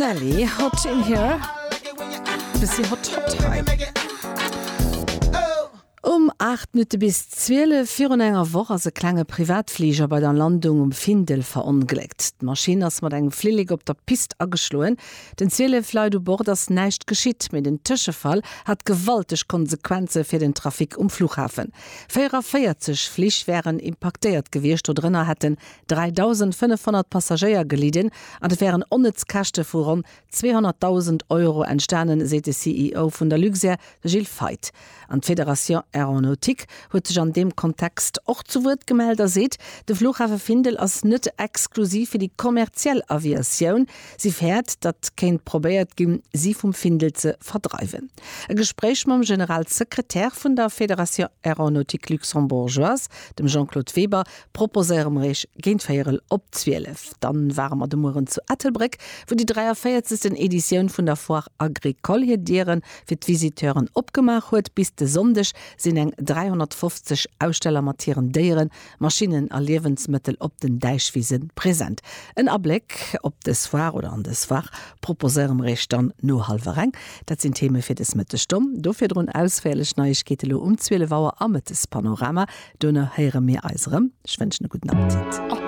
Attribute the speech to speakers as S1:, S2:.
S1: Nelly, Hot in Here. Bëssi hot hot hei. Um 8 Minutte bis 12 virun enger Woch ass e klenge Privatfliger bei der Landung um Findel verongléckt. D'Maschinn ass mat engem Flillek op der Pist ageschloen. Den 12 Leit u Bord ass näischt geschitt, mee den Tëschefall hat gewalteg Konsequenze fir den Trafic um Flughafen. 44 Flich wären impaktéiert gewiescht, dodrënner hätten 3.500 Passagéier gelidden an et wären onnëtz Käschte vu ronn 200.000 Euro entstanen, seet de CEO vun der Luxair, de Gilles Feith. An d'Fédération Aéronautique huet sech an deem Kontext och zu Wuert gemellt a seet, de Flughafe Findel ass net exklusiv fir déi kommerziell Aviatioun. Si fäert, datt kéint probéiert ginn, si vum Findel ze verdreiwen. E Gespréich mam Generalsekretär vun der Fédération Aéronautique Luxembourgeoise, dem Jean-Claude Weber, proposéiere mer iech géint véierel op 12. Dann ware mer de Mueren zu Ettelbréck, wou déi 43. Editioun vun der Foire Agricole hir Diere fir d'Visiteuren opgemaach huet. Bis de Sonndeg sinn eng 350 Aussteller mat hiren Déieren, Maschinnen a Liewensmëttel op den Däichwise present. En Abléck op dës Foire oder an dës Foire proposéiere mer iech dann no hallwer eng. Dat sinn d'Theme fir dës Mëttesstonn. Do virdrun ausféierlech Neiegkeete lo um 12 Auer am Mëttespanorama. Dono héiere mir eis erëm. Ech wënschen e gudden Appetit.